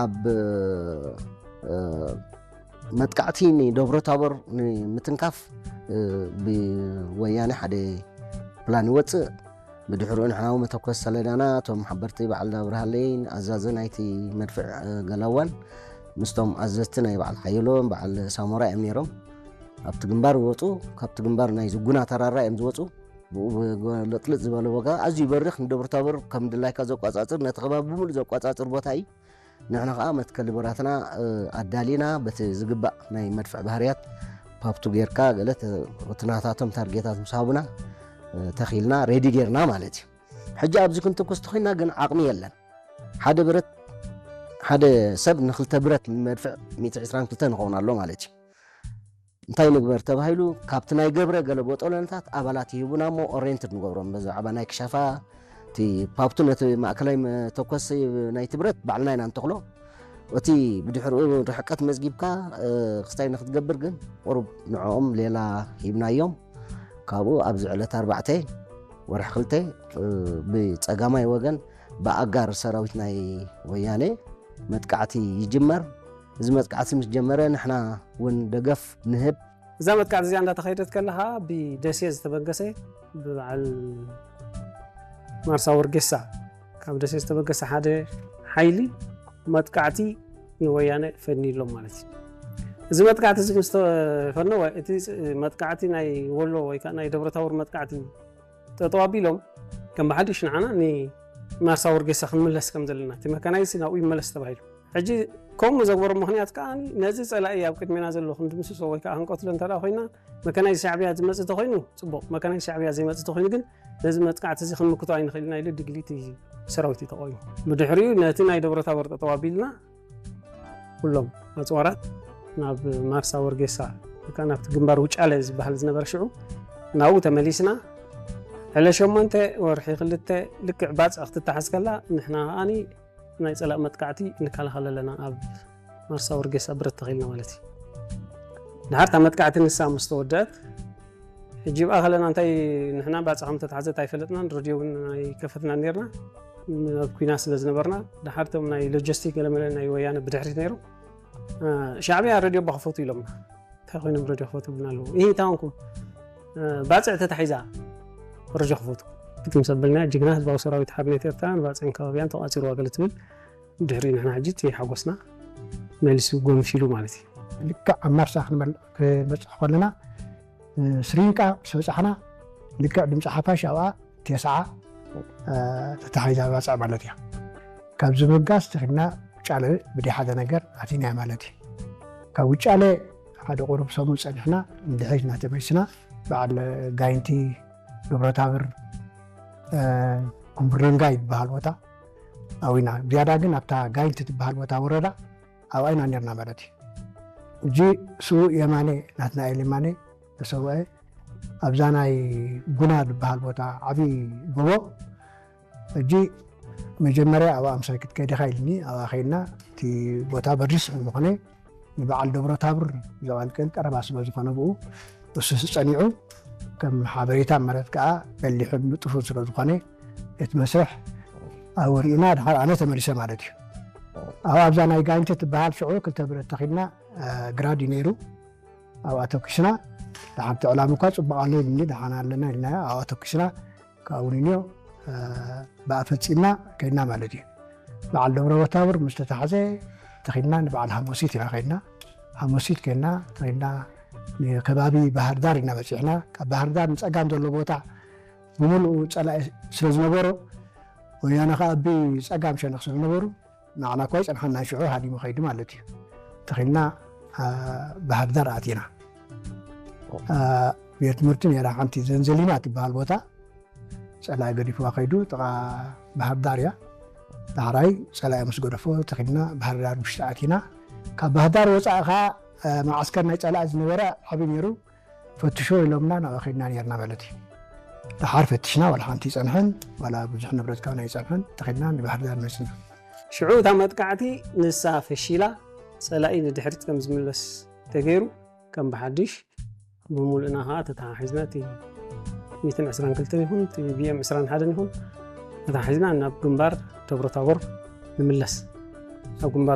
ኣብ መጥቃዕቲ ንደብረ ታቦር ንምትንካፍ ብወያነ ሓደ ፕላን ይወፅእ። ብድሕሪኡ ንሕናዊ መተኮስ ሰለዳና እቶም ሓበርቲ በዓል ኣብርሃለይን ኣዛዚ ናይቲ መድፍዕ ገላዋን ምስቶም ኣዘዝቲ ናይ በዓል ሓየሎም በዓል ሳሞራ እዮም ነይሮም። ኣብቲ ግንባር ይወፁ። ካብቲ ግንባር ናይ ዝጉና ተራራ እዮም ዝወፁ። ብኡ ብለጥልጥ ዝበለ ዋጋ ኣዝዩ ይበርኽ። ንደብረ ታቦር ከም ድላይካ ዘቋፃፅር፣ ነቲ ከባቢ ብምሉእ ዘቋፃፅር ቦታ እዩ። ንሕና ከዓ መትከሊ ብረትና ኣዳሊና በቲ ዝግባእ ናይ መድፍዕ ባህርያት ፓፕቱ ጌርካ ገለ እቲ ናታቶም ታርጌታት ምስ ሃቡና ተኺልና ሬዲ ጌርና ማለት እዩ። ሕጂ ኣብዚ ክንትኩስ ተኮይና ግን ዓቕሚ የለን። ሓደ ብረት ሓደ ሰብ ንክልተ ብረት ንመድፍዕ ሚእቲ ዕስራን ክልተ ንኸውን ኣሎ ማለት እዩ። እንታይ ንግበር ተባሂሉ ካብቲ ናይ ገብረ ገለ ቦጦለንታት ኣባላት ይህቡና እሞ ኦሬንትድ ንገብሮም ብዛዕባ ናይ ክሻፋ እቲ ፓፕቱ ነቲ ማእከላይ መተኮሲ ናይቲ ብረት ባዕልና ኢና ንተኽሎ። እቲ ብድሕሪኡ ርሕቀት መዝጊብካ ክስታይ ንክትገብር ግን ቁሩብ ንዕኦም ሌላ ሂብናዮም። ካብኡ ኣብዚ ዕለት ኣርባዕተ ወርሒ ክልተ ብፀጋማይ ወገን ብኣጋር ሰራዊት ናይ ወያነ መጥቃዕቲ ይጅመር። እዚ መጥቃዕቲ ምስ ጀመረ ንሕና እውን ደገፍ ንህብ። እዛ መጥቃዕቲ እዚኣ እንዳተኸይደት ከለኻ ብደሴ ዝተበገሰ ብበዓል ማርሳ ወርጌሳ ካብ ደሴ ዝተበገሰ ሓደ ሓይሊ መጥቃዕቲ ንወያነ ፈኒሎም ማለት እዩ። እዚ መጥቃዕቲ እዚ ምስ ተፈነወ እቲ መጥቃዕቲ ናይ ወሎ ወይ ከዓ ናይ ደብረታቦር መጥቃዕቲ ጠጠው ኣቢሎም ከም ብሓድሽ ንዓና ንማርሳ ወርጌሳ ክንምለስ ከም ዘለና እቲ መካናይዝድ ናብኡ ይመለስ ተባሂሉ። ሕጂ ከምኡ ዘግበሮ ምኽንያት ከዓ ነዚ ፀላኢ ኣብ ቅድሜና ዘሎ ክንድምስሶ ወይ ከዓ ክንቀትሎ እንተ ኮይና መካናይዝድ ሻዕብያ ዝመፅእ ተኮይኑ ፅቡቅ፣ መካናይዝድ ሻዕብያ ዘይመፅእ ተኮይኑ ግን ነዚ መጥቃዕቲ እዚ ክንምክቶ ኣይንኽእልና ኢሉ ድግሊት ሰራዊት እዩ ተቆይሙ። ብድሕሪኡ ነቲ ናይ ደብረ ታቦር ጠጠው ኣቢልና ኩሎም ኣፅዋራት ናብ ማርሳ ወርጌሳ ወይ ከዓ ናብቲ ግንባር ውጫለ ዝበሃል ዝነበረ ሽዑ ናብኡ ተመሊስና። ዕለ ሸሞንተ ወርሒ ክልተ ልክዕ ባፅዕ ክትተሓዝ ከላ ንሕና ከዓኒ ናይ ፀላእ መጥቃዕቲ ንከላኸል ኣለና ኣብ ማርሳ ወርጌሳ ብረት ተኺልና ማለት እዩ። ድሓር እታ መጥቃዕቲ ንሳ ምስ ተወደአት ሕጂ ብኣ ከለና እንታይ ንሕና ባፅዕ ከም ተታሕዘት ኣይፈለጥናን፣ ረድዮ እውን ኣይከፈትና ነርና ኣብ ኩና ስለ ዝነበርና። ድሓር እቶም ናይ ሎጂስቲክ ገለመለ ናይ ወያነ ብድሕሪት ነይሩ። ሻዕብያ ረድዮ ባክፈቱ ኢሎምና። እንታይ ኮይኖም ረድዮ ክፈቱ ብና ኣለዉ? ይህ እንታይ ኾንኩም? ባፅዕ ተታሒዛ ረድዮ ክፈቱ ክትምሰበልና ጅግና ህዝባዊ ሰራዊት ሓርነት ኤርትራ ንባፅዕን ከባቢያን ተቋፂሩ ዋገለ ትብል። ድሕሪ ንሕና ሕጂ እቲ ሓጎስና መሊሱ ጎንፊሉ ማለት እዩ። ልክዕ ኣብ ማርሳ ክንበፅሕ ከለና ስሪንቃ ምስ በፃሕና ልክዕ ድምፂ ሓፋሽ ኣብኣ ቴስዓ ተታሒዛ ባፅዕ ማለት እያ። ካብዚ ምብጋስ ተኺልና ውጫለ ብደይ ሓደ ነገር ኣቲና ማለት እዩ። ካብ ውጫለ ሓደ ቁሩብ ሰሙን ፀኒሕና እንድሕሪት እናተመሊስና በዓል ጋይንቲ፣ ደብረታብር፣ ኩምብርንጋ ይበሃል ቦታ ኣዊና ዝያዳ ግን ኣብታ ጋይንቲ ትበሃል ቦታ ወረዳ ኣብኣ ኢና ነርና ማለት እዩ። እጂ ስውእ የማነ ናትናኤል የማነ ተሰውአ ኣብዛ ናይ ጉና ዝበሃል ቦታ ዓብዪ ጎቦ እጂ መጀመርያ ኣብኣ ምሳይ ክትከይድ ኢኻ ኢልኒ ኣብኣ ከይድና እቲ ቦታ በሪስ ምኾነ ንበዓል ደብረ ታብር ዘቐልቅል ቀረባ ስለ ዝኾነ ብኡ እሱ ጸኒዑ ከም ሓበሬታ ማለት ከዓ በሊሑን ንጡፉን ስለ ዝኾነ እቲ መስርሕ ኣብኡ ርኢና ድሓር ኣነ ተመሊሰ ማለት እዩ። ኣብ ኣብዛ ናይ ጋይንተ ትበሃል ሽዑ ክልተ ብረት ተኺልና ግራድ እዩ ነይሩ። ኣብኣ ተኩስና። ደሓን እቲ ዕላም እኳ ፅቡቅ ኣሎ ኢሉኒ ደሓን ኣለና ኢልናዮ ኣብኣ ተኩስና። ካብኡ ንንዮ ብኣ ፈፂምና ከይድና ማለት እዩ። በዓል ደብረ ወታብር ምስ ተታሓዘ ተኺድና ንበዓል ሃሞሲት ኢና ከይድና። ሃሞሲት ከይድና ተኺድና ንከባቢ ባህር ዳር ኢና በፂሕና። ካብ ባህር ዳር ንፀጋም ዘሎ ቦታ ብምሉኡ ፀላኢ ስለ ዝነበሮ ወያነ ከዓ ብፀጋም ሸነኽ ስለ ዝነበሩ ንዓና እኳ ይፀንሓና ሽዑ ሃዲሙ ከይዱ ማለት እዩ። ተኺድና ባህር ዳር ኣቲና። ቤት ትምህርቲ ነይራ ሓንቲ ዘንዘሊና ትበሃል ቦታ ፀላኢ ገዲፍዋ ከይዱ ጥቓ ባህር ዳር እያ። ዳሕራይ ፀላኢ ምስ ገደፎ ተኺድና ባህር ዳር ውሽጢ ኣቲና። ካብ ባህር ዳር ወፃኢ ከዓ መዓስከር ናይ ፀላኢ ዝነበረ ዓብዪ ነይሩ። ፈትሾ ኢሎምና ናብኡ ከይድና ነርና ማለት እዩ። ደሓር ፈትሽና ዋላ ሓንቲ ይፀንሐን ዋላ ብዙሕ ንብረት ካብና ይፀንሐን ተኺድና ንባህር ዳር መፅና። ሽዑ እታ መጥቃዕቲ ንሳ ፈሺላ ፀላኢ ንድሕሪት ከም ዝምለስ ተገይሩ ከም ብሓድሽ ብምሉእና ከዓ ተተሓሒዝና እቲ ሚእትን ዕስራን ክልተን ይኹን እቲ ቢኤም ዕስራን ሓደን ይኹን ተተሓሒዝና ናብ ግንባር ደብረታቦር ንምለስ። ኣብ ግንባር